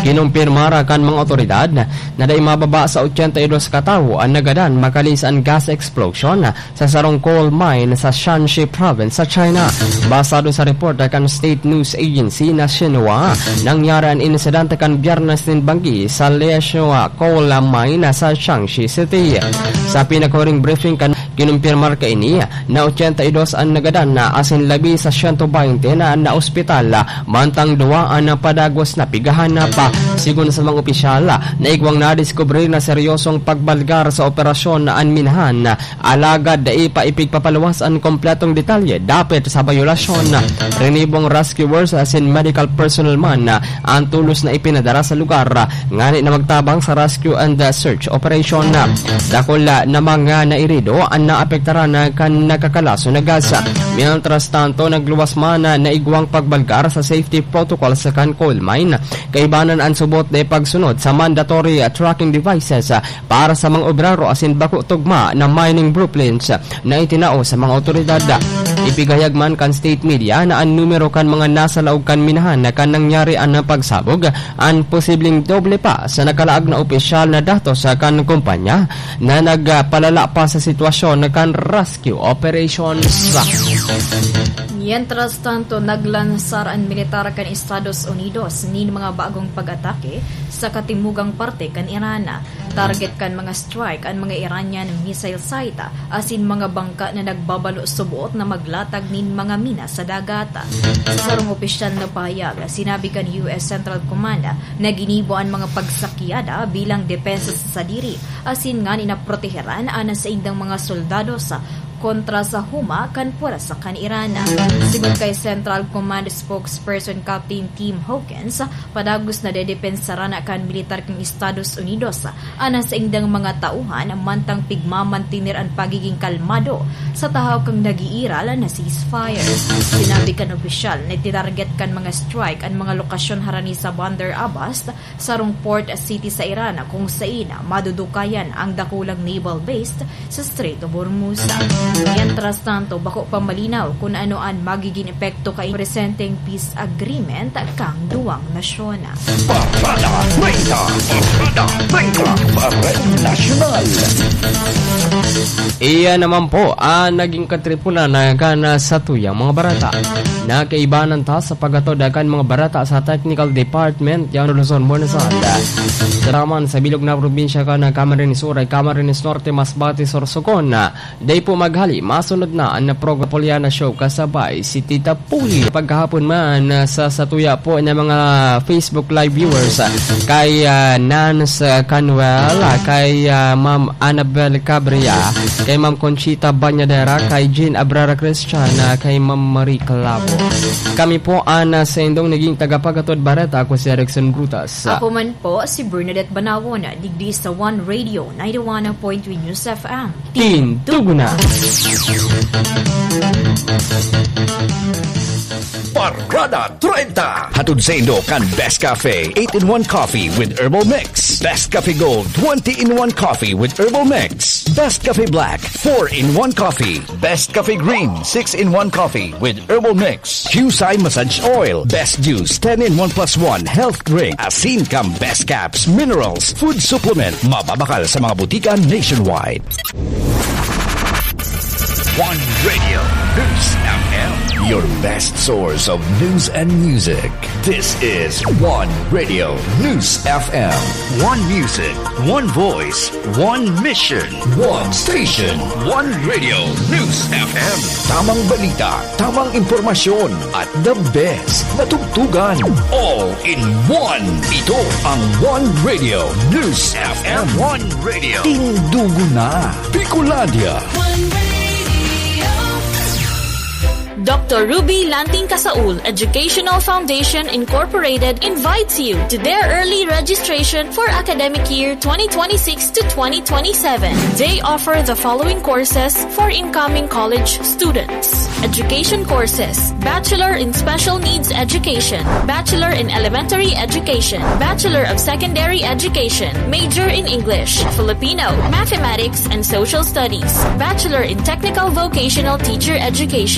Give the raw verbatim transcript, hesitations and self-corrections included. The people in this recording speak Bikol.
Kinumpirmara kan mga otoridad na dai mababa sa ochenta y dos ka tawo an nagadan makali sa gas explosion sa sarong coal mine sa Shanxi Province sa China. Basado sa report kan state news agency na Xinhua, nangyari an insidente kan Biyernes nin banggi sa Lieshua Coal Mine sa Shanxi City. Sa pinakahuring briefing kan Kinumpirmar kaini na ochenta y dos an nagadan na asin labi sa siyento baynte na naospital, mantang duwa an padagos na pighahanap. Sigon sa mga opisyal, naigwang nadiskubre na seryosong pagbalgar sa operasyon na an minahan, alagad dai pa ipigpapaluwas an kompletong detalye dapit sa bayolasyon. Rinibong rescuers asin medical personnel man an tolos na ipinadara sa lugar ngani na magtabang sa rescue and search operation. Dakul na mga nairido an naapektaran kan nagkakalason na gas. Mientras tanto, nagluwas man na naigwang pagbalgar sa safety protocols kan coal mine. Kaibanan an subot na pagsunod sa mandatory tracking devices para sa mga obrero asin bako tugma na mining blueprints na itinao sa mga otoridad. Ipigahayag man kan state media na an numero kan mga nasa laog kan minahan na kan nangyari an pagsabog, an posibleng doble pa sa nakalaag na opisyal na datos kan kumpanya na nagpalala pa sa sitwasyon kan rescue operations. Mientras tanto, naglansar an militar kan Estados Unidos nin mga bagong pag-atake sa katimugang parte kan Iran. Target kan mga strike an mga Iranian missile site asin mga bangka na nagbabalo subot na maglatag nin mga mina sa dagat. Sa sarong opisyal na pahayag, sinabi kan U S Central Command na ginibo an mga pagsakyada bilang depensa sa sadiri asin ngani na proteheran an saindang mga soldados kontra sa huma kan pwersa kan Iran. Sigon kay Central Command spokesperson Captain Tim Hawkins, padagos na dedepensaran kan militar kan Estados Unidos an saindang mga tauhan mantang pigmamantener an pagiging kalmado sa tahaw kan nag-iiral na ceasefire. Sinabi kan opisyal na titarget kan mga strike an mga lokasyon harani sa Bandar Abbas, sarong port city sa Iran, kung sain madudukayan ang dakulang naval base sa Strait of Hormuz. Mientras tanto, bako pa malinaw kun ano an magigin epekto kan presenteng peace agreement kan duwang nasyon. Parada treinta, Parada treinta, Parada Nasyonal. Iyan naman po ang naging katripunan na gana sa tuyang mga barata. Nakaibanan ta sa paghatod kan mga barata sa Technical Department, yan Luzon, Buenos Aires. Sa naman sa bilog na probinsya kan Camarines Sur, Camarines Norte, Masbate, Sorsogon. Dai po maghali, masunod na an programa Poliana Show kasabay si Tita Puli. Pagkahapon man, sa satuya po na mga Facebook Live viewers, kay, ah, Nance Canuel, kay, ah, Ma'am Annabel Cabria, kay Ma'am Conchita Banyadera, kay Jean Abrara Christian, ah, kay Ma'am Marie Clavo. Kami po an, ah, saindong naging tagapaghatod bareta, ako si Erickson Brutas. Ako man po si Bernadette Banawon, digdi sa One Radio ninety-one point three News F M. Tindugo na! Parada treinta. Hatod saindo kan Best Cafe, eight-in-one Coffee with Herbal Mix. Best Cafe Gold, twenty-in-one Coffee with Herbal Mix. Best Cafe Black, four-in-one Coffee. Best Cafe Green, six-in-one Coffee with Herbal Mix. Qcye Massage Oil, Best Juice, ten-in-one plus one Health Drink. Asin kan Best Caps, Minerals, Food Supplement. Mababakal sa mga butika nationwide. One Radio News F M, your best source of news and music. This is One Radio News F M. One music, one voice, one mission. One station, One Radio News F M. Tamang balita, tamang impormasyon, at the best na tugtugan. All in one. Ito ang One Radio News F M. One Radio. Tindugo na. Bicolandia. One Radio. Doctor Ruby Lanting Casaul Educational Foundation Incorporated invites you to their early registration for academic year twenty twenty-six to twenty twenty-seven. They offer the following courses for incoming college students: education courses, Bachelor in Special Needs Education, Bachelor in Elementary Education, Bachelor of Secondary Education, major in English, Filipino, Mathematics, and Social Studies, Bachelor in Technical Vocational Teacher Education,